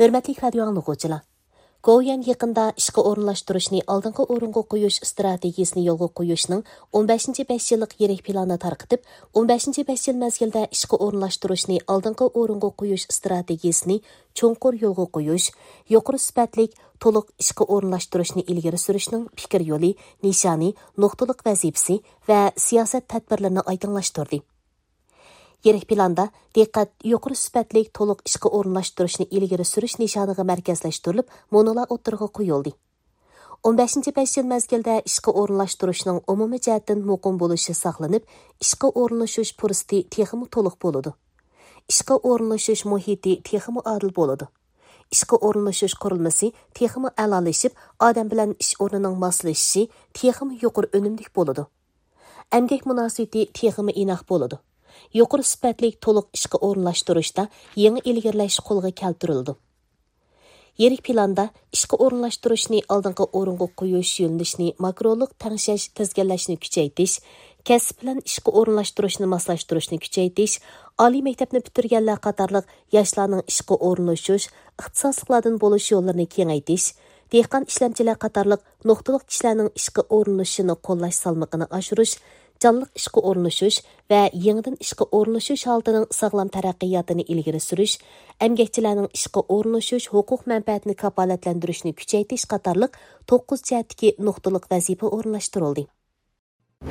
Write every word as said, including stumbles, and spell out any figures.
ھۆرمەتلىك رادىيو ئاڭلىغۇچىلار! گوۋۇيۈەن يېقىندا ئىشقا ئورۇنلاشتۇرۇشنى ئالدىنقى ئورۇنغا قويۇش ئىستراتېگىيىسىنى يولغا قويۇشنىڭ ئون بەشىنچى بەش يىللىق يىرىك پىلانىنى تارقىتىپ، ئون بەشىنچى بەش يىل مەزگىلدە ئىشقا ئورۇنلاشتۇرۇشنى ئالدىنقى ئورۇنغا قويۇش ئىستراتېگىيىسىنى چوڭقۇر يولغا قويۇش، يۇقىرى سۈپەتلىك، تولۇق ئىشقا ئورۇنلاشتۇرۇشنى ئىلگىرى سۈرۈشنىڭ پىكىر يولى، نىشانى، نۇقتىلىق ۋەزىپىسى ۋە سىياسەت تەدبىرلىرىنى ئايدىڭلاشتۇردى. يىرىك پىلاندا دىققەت يۇقىرى سۈپەتلىك تولۇق ئىشقا ئورۇنلاشتۇرۇشنى ئىلگىرى سۈرۈش نىشانىغا مەركەزلەشتۈرۈلۈپ، مۇنۇلار ئوتتۇرىغا قويۇلدى. ئون بەشىنچى بەش يىل مەزگىلدە ئىشقا ئورۇنلاشتۇرۇشنىڭ ئومۇمىي جەھەتتىن مۇقىم بولۇشى ساقلىنىپ، ئىشقا ئورۇنلىشىش پۇرسىتى تېخىمۇ تولۇق بولىدۇ. ئىشقا ئورۇنلىشىش مۇھىتى تېخىمۇ ئادىل بولىدۇ. ئىشقا ئورۇنلىشىش قۇرۇلمىسى تېخىمۇ ئەلالىشىپ، ئادەم بىلەن ئىش ئورنىنىڭ ماسلىشىشى تېخىمۇ يۇقىرى ئۈنۈملۈك بولىدۇ. ئەمگەك مۇناسىۋىتى تېخىمۇ ئىناق بولىدۇ. يۇقىرى سۈپەتلىك تولۇق ئىشقا ئورۇنلاشتۇرۇشتا يېڭى ئىلگىرىلەش قولغا كەلتۈرۈلىدۇ. يىرىك پىلاندا ئىشقا ئورۇنلاشتۇرۇشنى ئالدىنقى ئورۇنغا قويۇش يۆنىلىشىنى ماكرولۇق تەڭشەش، تىزگىنلەشنى كۈچەيتىش، كەسىپ بىلەن ئىشقا ئورۇنلاشتۇرۇشنى ماسلاشتۇرۇشنى كۈچەيتىش، ئالىي مەكتەپنى پۈتتۈرگەنلەر قاتارلىق ياشلارنىڭ ئىشقا ئورۇنلىشىش، ئىختىساسلىقلاردىن بولۇش يوللىرىنى كېڭەيتىش، دېھقان ئىشلەمچىلەر قاتارلىق نۇقتىلىق كىشىلەرنىڭ ئىشقا ئورۇنلىشىشىنى قوللاش سالمىقىنى ئاشۇرۇش، جانلىق ئىشقا ئورۇنلىشىش ۋە يېڭىدىن ئىشقا ئورۇنلىشىش ھالىتىنىڭ ساغلام تەرەققىياتىنى ئىلگىرى سۈرۈش، ئەمگەكچىلەرنىڭ ئىشقا ئورۇنلىشىش ھوقۇق مەنپەئەتىنى كاپالەتلەندۈرۈشنى كۈچەيتىش قاتارلىق توققۇز جەھەتتىكى نۇقتىلىق ۋەزىپە ئورۇنلاشتۇرۇلدى.